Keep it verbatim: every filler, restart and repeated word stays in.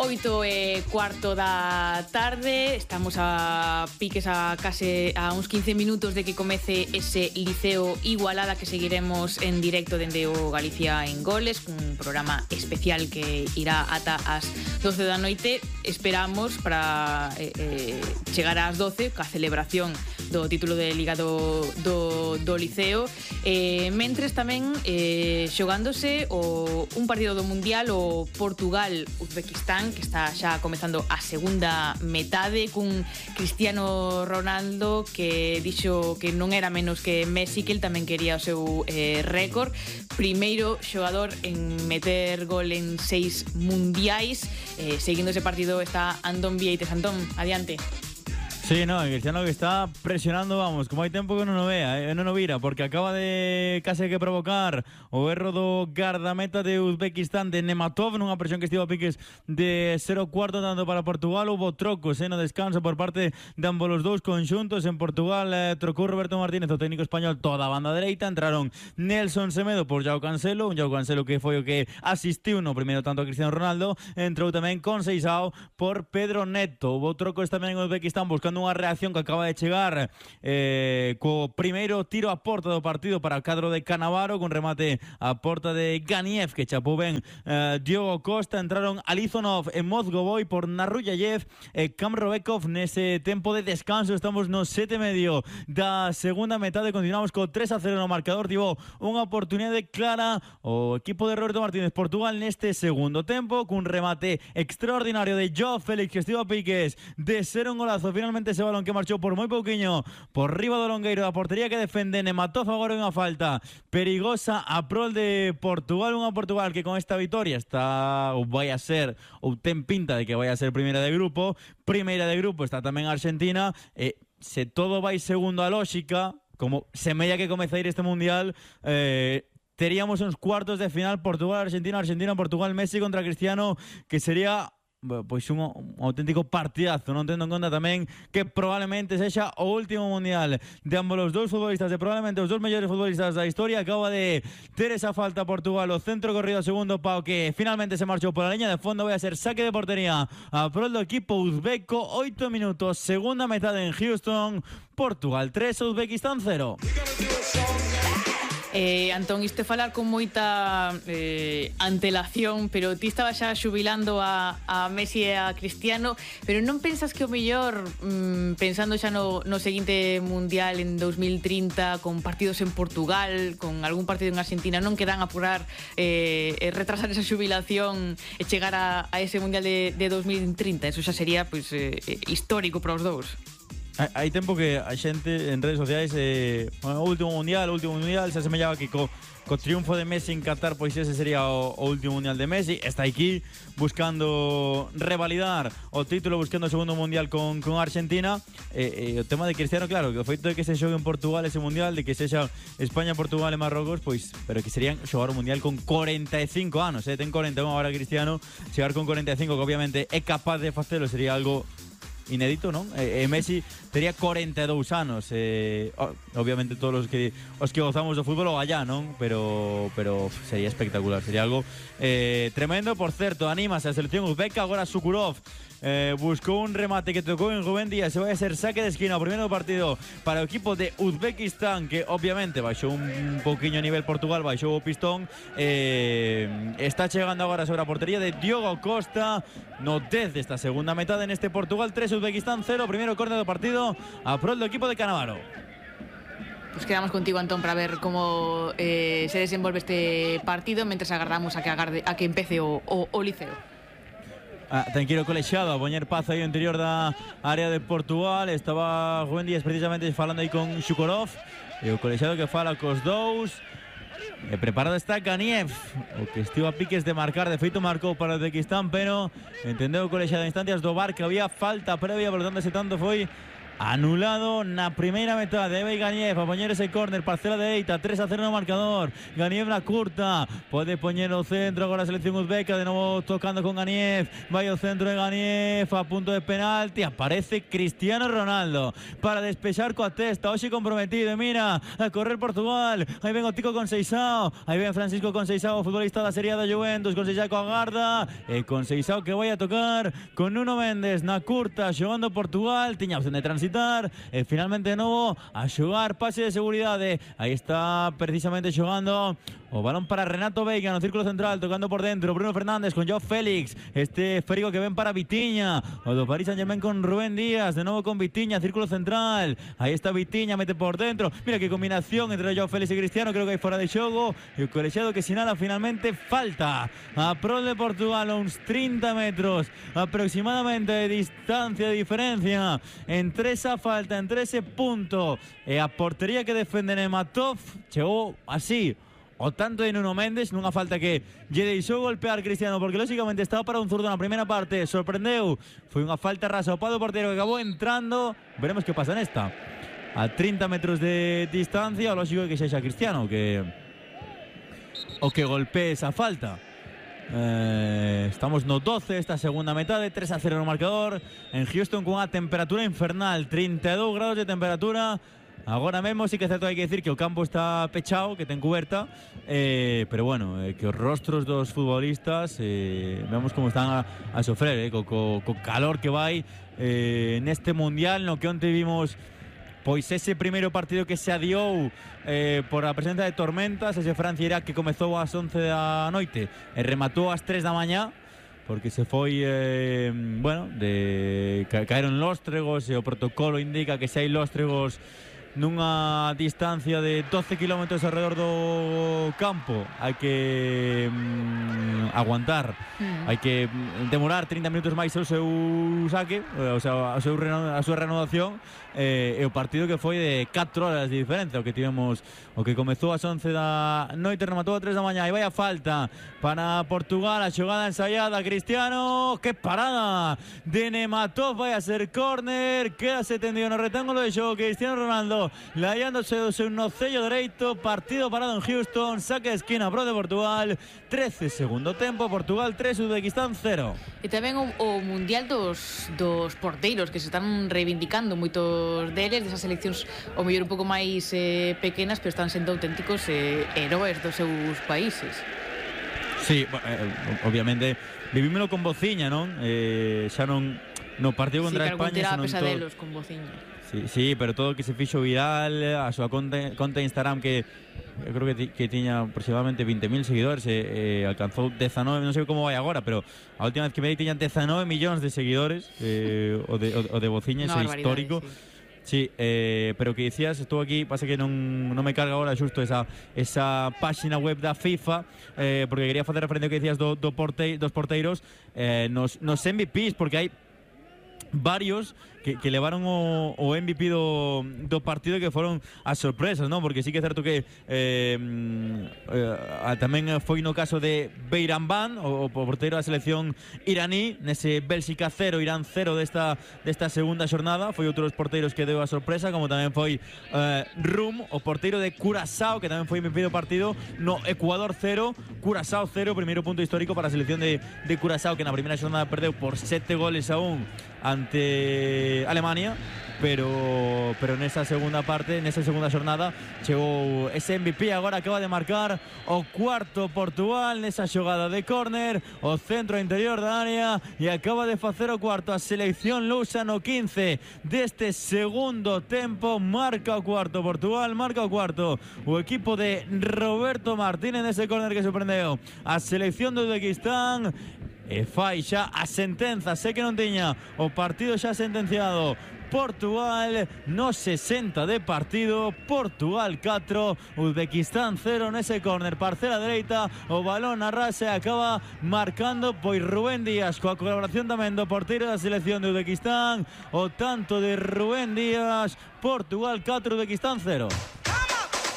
Oito e cuarto da tarde, estamos a piques a case a uns quince minutos de que comece ese Liceo Igualada que seguiremos en directo dende o Galicia en Goles, un programa especial que irá ata as doce da noite. Esperamos para eh, eh, chegar ás doce ca celebración do título de Liga do, do, do Liceo, eh, mentres tamén eh, xogándose o, un partido do Mundial, o Portugal-Uzbequistán, que está xa comezando a segunda metade, cun Cristiano Ronaldo que dixo que non era menos que Messi, que el tamén quería o seu eh, récord, primeiro xogador en meter gol en seis mundiais. Eh, seguindo ese partido está Antón Vieites. Antón, adiante. Sí, no, el Cristiano que está presionando, vamos, como hai tempo que non o vea, eh, non o vira, porque acaba de case que provocar o erro do guardameta de Uzbequistán, de Nematov, nunha presión que estivo a piques de cero cuarto tanto para Portugal. Hubo trocos eh, no descanso por parte de ambos os dous conxuntos. En Portugal eh, trocou Roberto Martínez, o técnico español, toda a banda dereita. Entraron Nelson Semedo por Joao Cancelo, un Joao Cancelo que foi o que asistiu no primeiro tanto a Cristiano Ronaldo. Entrou tamén con Seisao por Pedro Neto. Hubo trocos tamén en Uzbequistán buscando unha reacción que acaba de chegar eh, co primeiro tiro a porta do partido para o cadro de Cannavaro, con remate a porta de Ganiev, que chapou ben eh, Diogo Costa. Entraron Alizonov e Mozgovoy por Narruyayev e Kamrovekov nese tempo de descanso. Estamos no sete e medio da segunda metade, continuamos co tres a cero no marcador. Tivo unha oportunidade clara o equipo de Roberto Martínez Portugal neste segundo tempo, cun remate extraordinario de Joao Félix, que estivo a piques de ser un golazo. Finalmente ese balón que marchou por moi pouquiño por riba do longueiro da portería que defende Nematov. Agora unha falta perigosa a prol de Portugal, unha Portugal que con esta vitoria está ou vai a ser, ou ten pinta de que vai a ser primeira de grupo. Primeira de grupo está tamén Argentina, e se todo vai segundo a lógica, como semella que comeza a ir este mundial, eh, teríamos uns cuartos de final Portugal-Argentina, Argentina-Portugal, Messi contra Cristiano, que sería pois un, un auténtico partidazo, non tendo en conta tamén que probablemente sexa o último mundial de ambos os dous futbolistas, de probablemente os dous mellores futbolistas da historia. Acaba de ter esa falta Portugal, o centro corrido a segundo pau que finalmente se marchou pola liña de fondo. Vai a ser saque de portería a prol do equipo uzbeco. Oito minutos, segunda metade en Houston. Portugal tres, Uzbequistán cero. Eh, Antón, isto é falar con moita eh, antelación, pero ti estaba xa xubilando a, a Messi e a Cristiano, pero non pensas que o mellor, mm, pensando xa no, no seguinte mundial en dos mil trinta, con partidos en Portugal, con algún partido en Argentina, non quedan apurar eh, e retrasar esa xubilación e chegar a, a ese mundial de, de dos mil trinta? Eso xa sería pues, eh, histórico para os dous. Hai tempo que a xente en redes sociais eh, o último mundial, o último mundial se asemellaba que co, co triunfo de Messi en Qatar, pois ese sería o, o último mundial de Messi. Está aquí buscando revalidar o título, buscando o segundo mundial con, con Argentina. E eh, eh, o tema de Cristiano, claro, que o feito de que se xogue en Portugal ese mundial, de que sexa España, Portugal e Marrocos, pois, pero que serían xogar o mundial con corenta e cinco anos, eh, ten corenta e un agora Cristiano, chegar con corenta e cinco, que obviamente é capaz de facelo, sería algo inédito, non? E, e Messi tería corenta e dous anos, eh, obviamente todos os que os que gozamos do fútbol o allá, non? Pero pero sería espectacular, sería algo eh, tremendo. Por certo, anímase a selección uzbeca. Agora Sukurov eh, buscou un remate que tocou en Rubén Díaz, se vai a ser saque de esquina o primeiro partido para o equipo de Uzbequistán, que obviamente baixou un pouquiño a nivel Portugal, baixou o pistón. eh, está chegando agora sobre a portería de Diogo Costa no dez desta segunda metade neste Portugal tres, Uzbequistán cero. Primeiro córner do partido a prol do equipo de Cannavaro. Pues quedamos contigo, Antón, para ver como eh, se desenvolve este partido, mientras agardamos a que, agarde, a que empece o, o, o Liceo. Ah, ten que ir o colexiado a poñer paz aí no interior da área de Portugal. Estaba Rubén Díaz precisamente falando aí con Shukurov, e o colexiado que fala cos dous. E preparado está Ganiev, o que estivo a piques de marcar. De feito marcou para o Uzbequistán, pero entendeu o colexiado de instancias do V A R que había falta previa, por lo tanto ese tanto foi anulado na primeira metade. Vai Ganiev a poñer ese córner, parcela de Eita, tres a cero no marcador. Ganiev na curta, pode poñer o centro agora a selección uzbeca, de novo tocando con Ganiev, vai o centro de Ganiev a punto de penalti, aparece Cristiano Ronaldo para despexar coa testa, hoxe comprometido, mira, a correr Portugal, aí ven o Tico con Seixao, aí ven Francisco con Seixao, futbolista da Serie A da Juventus, con Seixao coa garda, e con Seixao que vai a tocar con Nuno Méndez na curta, xogando Portugal, tiña opción de transitar, e finalmente de novo a xogar pase de seguridade. Aí está precisamente xogando o balón para Renato Veiga no círculo central, tocando por dentro Bruno Fernández con Joao Félix, este esférico que ven para Vitinha, o do Paris Saint-Germain con Rubén Díaz, de novo con Vitinha, círculo central, aí está Vitinha, mete por dentro, mira que combinación entre Joao Félix e Cristiano, creo que hai fora de xogo, e o colexiado que sinala finalmente falta a prol de Portugal, a uns trinta metros aproximadamente de distancia, de diferencia entre esa falta, entre ese punto e a portería que defende Nematov. Chegou así o tanto de Nuno Méndez nunha falta que lle deixou golpear Cristiano, porque lógicamente estaba para un zurdo na primeira parte, sorprendeu, foi unha falta rasa ao pado portero que acabou entrando. Veremos que pasa nesta, a trinta metros de distancia, o lógico é que sexa Cristiano que o que golpee esa falta. Eh, estamos no doce esta segunda metade, tres a cero no marcador en Houston, con unha temperatura infernal, trinta e dous grados de temperatura. Agora mesmo sí que é certo, hai que decir que o campo está pechado, que ten cuberta, eh, pero bueno, eh, que os rostros dos futbolistas eh, vemos como están a, a sofrer, eh, co, co, co calor que vai eh, neste mundial, no que onte vimos pois ese primeiro partido que se adiou eh, por a presencia de tormentas, ese Francia-Irak que comezou ás once da noite e rematou ás tres da mañá, porque se foi, eh, bueno, de ca caeron lóstregos e o protocolo indica que se hai lóstregos nunha distancia de doce kilómetros alrededor do campo hai que mm, aguantar, mm. hai que demorar trinta minutos máis o seu saque, o sea, a, seu a súa renovación, eh, e o partido que foi de catro horas de diferencia, o que tivemos, o que comezou ás once da noite, rematou a tres da mañá, e vai a falta para Portugal, a xogada ensaiada, Cristiano, que parada de Nematov, vai a ser córner, quedase tendido no rectángulo de xogo Cristiano Ronaldo, laiándose o seu nocello dereito, partido parado en Houston, saque de esquina pro de Portugal, trece segundo tempo, Portugal tres, Uzbequistán cero. E tamén o, o mundial dos, dos porteiros que se están reivindicando moitos deles, desas seleccións o mellor un pouco máis eh, pequenas, pero están sendo auténticos eh, heróis dos seus países. Sí, eh, obviamente vivímelo con Bociña, non? Eh, xa non no partido contra sí, España, xa non pesadelos con Bociña. Sí, sí, pero todo o que se fixo viral, a súa conta, conta Instagram que eu creo que, ti, que tiña aproximadamente veinte mil seguidores, e eh, alcanzou dezanove, non sei como vai agora, pero a última vez que me di tiñan dezanove millóns de seguidores, eh, o de, o, o de Bociña, ese histórico. Sí. Sí, eh, pero que dicías, estou aquí, pasa que non, non me carga agora xusto esa, esa páxina web da FIFA, eh, porque quería facer referencia ao que dicías do, do porte, dos porteiros, eh, nos, nos M V Ps, porque hai varios que, que levaron o, o M V P do, do partido, que foron as sorpresas, non? Porque sí que é certo que eh, eh, tamén foi no caso de Beiranvand, o, o porteiro da selección iraní, nese Bélxica cero, Irán cero desta, desta segunda xornada. Foi outro dos porteiros que deu a sorpresa, como tamén foi eh, Rum, o porteiro de Curazao, que tamén foi M V P do partido, no Ecuador cero, Curazao cero, primeiro punto histórico para a selección de, de Curazao, que na primeira xornada perdeu por sete goles a un ante Alemania, pero pero nesa segunda parte, nesa segunda xornada chegou ese M V P. Agora acaba de marcar o cuarto Portugal nesa xogada de córner, o centro interior da área, e acaba de facer o cuarto a selección lusa no quince deste segundo tempo. Marca o cuarto Portugal, marca o cuarto o equipo de Roberto Martínez nese córner que sorprendeu a selección de Uzbequistán. E fai xa a sentenza, sei que non tiña o partido xa sentenciado. Portugal no sesenta de partido, Portugal catro, Uzbequistán cero nese córner, parcela dereita, o balón arrasa e acaba marcando pois Rubén Díaz, coa colaboración tamén do porteiro da selección de Uzbequistán. O tanto de Rubén Díaz, Portugal catro, Uzbequistán cero.